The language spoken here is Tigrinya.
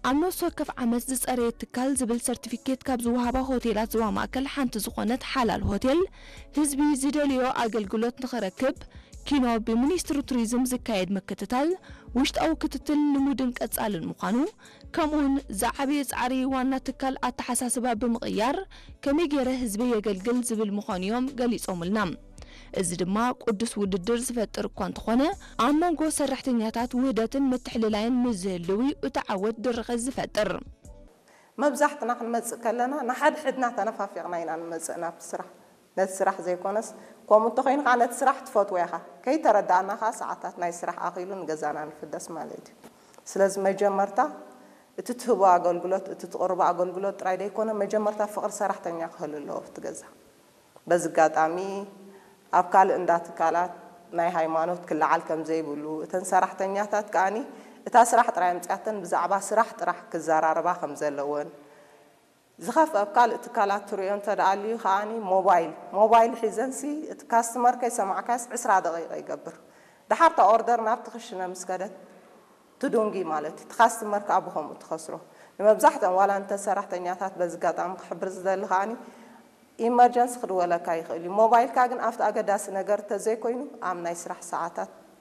ኣብ ነፍሲ ወከፍ ዓመት ዝጸረየ ትካል ዝብል ሰርቲፊኬት ካብ ዝወሃባ ሆቴላት ዞባ ማእከል ሓንቲ ዝኾነት ሓላል ሆቴል፣ ህዝቢ ዝደልዮ ኣገልግሎት ንኽረክብ ኪኖ ብሚኒስትሪ ቱሪዝም ዝካየድ ምክትታል ውሽጣዊ ክትትል ልሙድን ቀጻልን ምዃኑ፣ ከምኡውን ዝዓበየ ጻዕሪ ዋና ትካል ኣተሓሳስባ ብምቕያር ከመይ ገይረ ህዝበይ የገልግል ዝብል ምዃኑ እዮም ገሊጾምልና። እዚ ድማ ቅዱስ ውድድር ዝፈጥር እኳ እንተኾነ፣ ኣብ መንጎ ሰራሕተኛታት ውህደትን ምትሕልላይን ምስ ዝህልው እዩ እቲ ዓወት ድርኸት ዝፈጥር። መብዛሕትና ክንመፅእ ከለና ንሓድሕድና ተነፋፊቕና ኢና ንመፅእ ናብቲ ስራሕ። ነቲ ስራሕ ዘይኮነስ፣ ከምኡ እንተኾይኑ ከዓ ነቲ ስራሕ ትፈትዎ ኢኻ። ከይተረዳእና ከዓ ሰዓታት ናይ ስራሕ ኣኺሉ ንገዛና ንፍደስ ማለት እዩ። ስለዚ መጀመርታ እቲ ትህቦ ኣገልግሎት፣ እቲ ትቕርቦ ኣገልግሎት ጥራይ ዘይኮነ፣ መጀመርታ ፍቕሪ ሰራሕተኛ ክህሉ ኣለዎ ኣብቲ ገዛ። በዚ ኣጋጣሚ ኣብ ካልእ እንዳ ትካላት ናይ ሃይማኖት ክለዓል ከም ዘይብሉ፣ እተን ሰራሕተኛታት ከኣኒ እታ ስራሕ ጥራይ ኣምፅኣተን ብዛዕባ ስራሕ ጥራሕ ክዘራረባ ከም ዘለወን፣ ዝኸፍአ ኣብ ካልእ ትካላት ትሪኦ እንተ ደኣ ኣልዩ ከኣኒ ሞባይል፣ ሞባይል ሒዘንሲ እቲ ካስትመር ከይሰማዕካስ ዕስራ ደቂቃ ይገብር። ደሓር እታ ኦርደር ናብቲ ክሽነ ምስ ከደት ትዱንጊ ማለት እዩ። እቲ ካስትመር ከኣ ብኸምኡ ትኸስሮ። ንመብዛሕትኦም ዋላ እንተ ሰራሕተኛታት በዚ ኣጋጣሚ ክሕብር ዝደሊ ከኣኒ ኢመርጀንሲ ክድወለካ ይኽእል እዩ። ሞባይልካ ግን ኣብቲ ኣገዳሲ ነገር እንተዘይኮይኑ ኣብ ናይ ስራሕ ሰዓታት